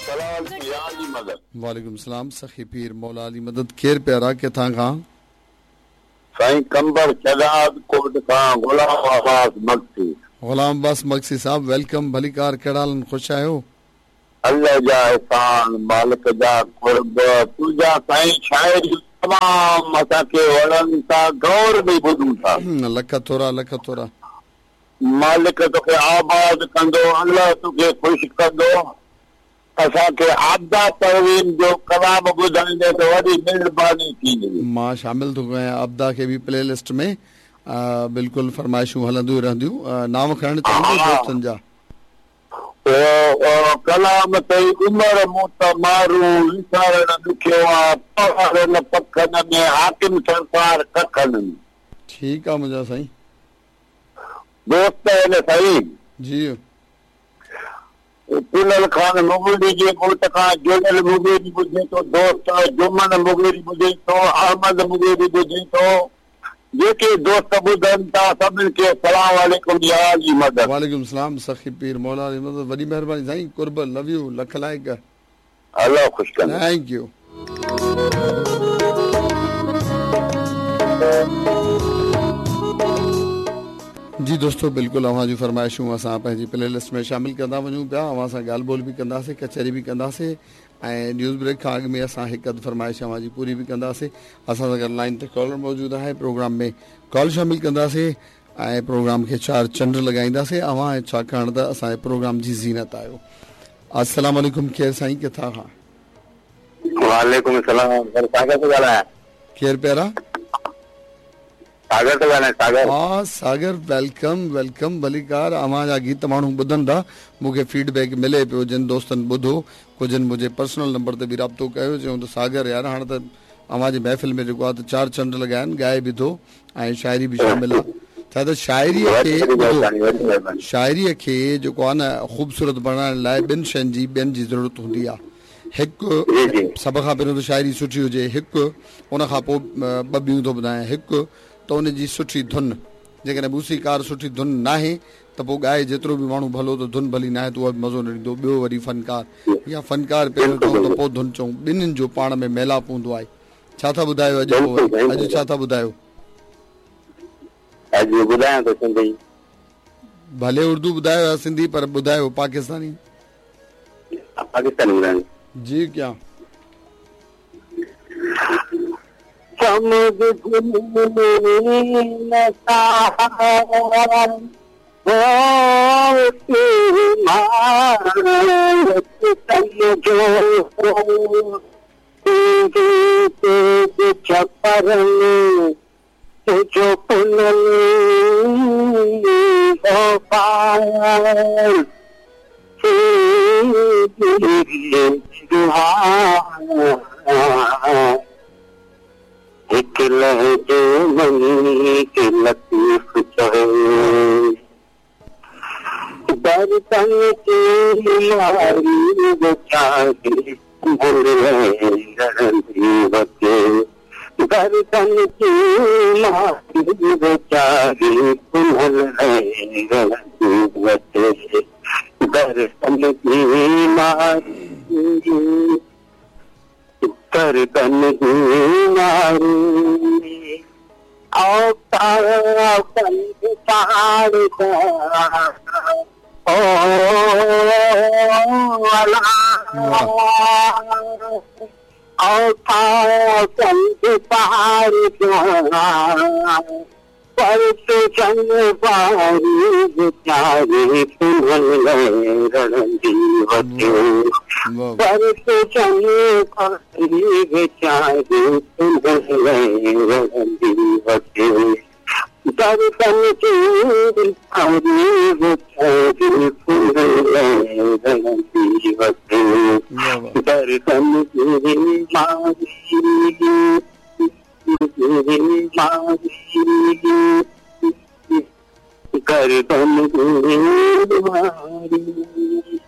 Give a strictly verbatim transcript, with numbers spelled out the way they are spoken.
सलाम मदद। वालेकुम सलाम। सखी पीर मौला अली मदद। केरु प्यारा, किथां खां? साईं कंबर शहजाद कोट खां गुलाम अब्बास मक्सी। गुलाम अब्बास मक्सी साहब welcome, भलीकार। कहिड़ा हाल आहिनि? ख़ुशि आहियो? अल्लाह जा एहसान, मालिक जा कुर्ब। तुंहिंजा साईं शाइरी तमामु असांखे वणनि था, गौर में ॿुधूं था। लख थोरा, लख थोरा। मालिक तोखे आबाद कंदो, अल्लाह तोखे ख़ुशि कंदो। असांखे आबदा परवीन जो कलाम ॿुधाईंदे त वॾी महिरबानी थींदी। मां शामिल थो कयां आबदा खे बि प्ले लिस्ट में। बिल्कुलु फरमाइशूं हलंदियूं रहंदियूं। नाम खणणु चाहींदो दोस्तनि जा? ओ कलाम तई उमर मूं त मारू, विसारण ॾुखियो आहे, पहाड़नि पखनि में हाकिम सरकार कखनि में। ठीकु आहे मुंहिंजा साईं। दोस्त आहिनि साईं जी। पुनल खान मुगेरी जे ॻोठ खां जुड़ियल मुगेरी ॿुधे थो दोस्त, जुमन मुगेरी ॿुधे थो, अहमद मुगेरी ॿुधे थो। जेके दोस्त ॿुधनि था सभिनी खे सलाम वालेकुम या अली मदद। वालेकुम सलाम। सखी पीर मौला अली मदद, वॾी महिरबानी साईं। कुर्ब, लव you, लख लाइक। अल्लाह ख़ुशि कंदो। Thank you. जी दोस्तों, बिल्कुलु अव्हां जूं फरमाइशूं असां पंहिंजी प्ले लिस्ट में शामिल कंदा वञूं पिया। अव्हां सां ॻाल्हि ॿोल बि कंदासीं, कचहरी बि कंदासीं ऐं न्यूज़ ब्रेक खां अॻु में असां हिकु अधु फरमाइश अव्हां जी पूरी बि कंदासीं। असां सां गॾु लाइन ते कॉलर मौजूदु आहे, प्रोग्राम में कॉल शामिल कंदासीं ऐं प्रोग्राम खे चार चंड लॻाईंदासीं। अव्हां छाकाणि त असांजे प्रोग्राम जी ज़ीनत आहियो। अस्सलाम वालेकुम। केरु साईं, किथां खां? वालेकुम सलाम। सागर थो ॻाल्हायां। केरु प्यारा? सागर थो ॻाल्हायां। सागर। हा सागर, welcome welcome, भलीकार। अव्हां जा गीत माण्हू ॿुधनि था, मूंखे फीडबैक मिले पियो। जिन दोस्तनि ॿुधो, कुझु मुंहिंजे पर्सनल नंबर ते बि राब्तो कयो, चयूं त सागर यार हाणे त अव्हांजी महफ़िल में जेको आहे त चार चंड लॻा आहिनि, ॻाए बि थो ऐं शाइरी बि शामिल आहे। छा त शाइरीअ खे ॿुधो, शाइरीअ खे जेको आहे न ख़ूबसूरत बणाइण लाइ ॿिनि शयुनि जी ॿियनि जी ज़रूरत हूंदी आहे। हिकु सभ खां पहिरियों त शाइरी सुठी हुजे, हिकु उन खां पोइ ॿ ॿियूं थो ॿुधायां। हिकु त उनजी सुठी धुन, जेकॾहिं मूसीकार सुठी धुन नाहे त पोइ ॻाए जेतिरो बि माण्हू भलो त धुन भली नाहे त उहा बि मज़ो न ॾींदो। ॿियो वरी फनकार या फनकार पहिरियों चऊं त पोइ धुन चऊं, ॿिन्हिनि जो पाण में मेलाप हूंदो आहे। छा था ॿुधायो अॼु? अॼु छा था ॿुधायो? अॼु ॿुधायां थो सिंधी। भले उर्दू ॿुधायो या सिंधी, पर ॿुधायो पाकिस्तानी। पाकिस्तानी ॿुधायो जी। क्या लहजे मनी के लतीफ चवे, दर्दन की मारी बेचारी बचे, दर्दन की मारी बेचारी बचे, दर्दन की मारी गर्दन की मारी पहाड़ ओ पहाड़ पर चंग पारी बेचारी रणदी पर चंग पारी बेचारी रणदी दर्दन की मारी बेचारी रणदी दर्दन की मारी गर्दन की मारी।